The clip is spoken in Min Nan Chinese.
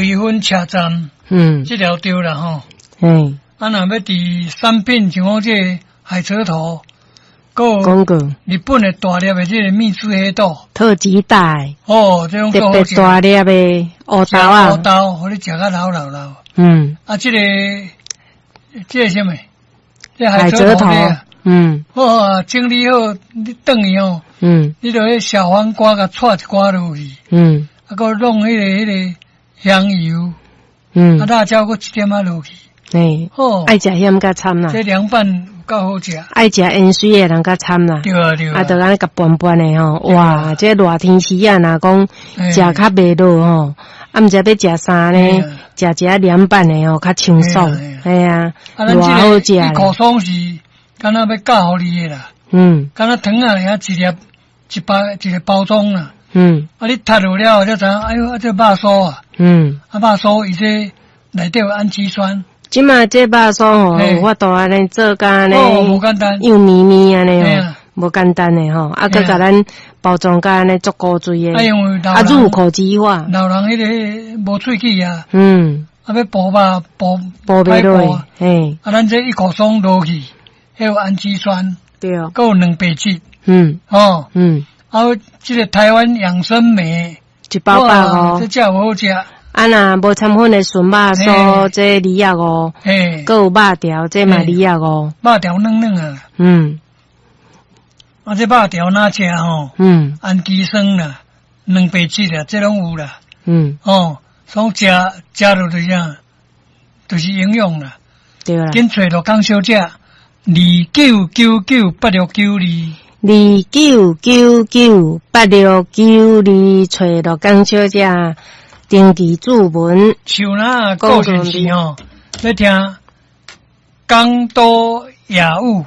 瑞芬車站，這條對啦吼。啊，若欲佇產品像講這个海蜇頭，閣廣告。日本的大粒的這个蜜汁黑豆，特級大，哦，這種特別大粒的烏豆啊，烏豆，予你食甲流流流。啊，這個啥物？這海蜇頭。好啊，整理好，你轉去吼。你就彼小黃瓜共掣一寡落去。啊，閣弄彼個香油。啊，辣椒閣一點仔落去。嘿，好，愛食鹹較參啦。這涼拌有夠好食。愛食鹽水的人較參啦。對啊對啊。啊，就按呢共拌拌的吼，哇！這熱天時啊，若講食較袂落吼，啊，毋知欲食啥呢？食一下涼拌的吼，較清爽。嘿啊，偌好食。一口爽是敢若欲教予你的啦。敢若糖仔爾一粒一包一个包裝啦。啊，你讀落了後才知影，哎喲，啊，這肉酥啊。啊，肉酥伊這內底有氨基酸。這馬這肉酥吼，有法度按呢做甲按呢，無簡單，幼綿綿按呢吼，無簡單的吼，啊，閣共咱包裝甲按呢足古錐的，啊，入口即化。老人彼个無喙齒啊，啊，欲哺肉哺哺袂落，嘿，啊，咱這一口爽落去，彼有氨基酸，對，閣有蛋白質，哦，啊，這个台灣養生莓一包百五，這才有好食。啊，若無摻粉的純肉酥，這25，閣有肉條，這嘛25。肉條軟軟啊。啊，這肉條哪食吼？氨基酸啦，蛋白質啦，這攏有啦。哦，所以食食落就是啥，就是營養啦。對啦。緊揣鹿港小姐，29998692。29998692，揣鹿港小姐。登記注文，像那個故事吼，欲聽江都夜雨。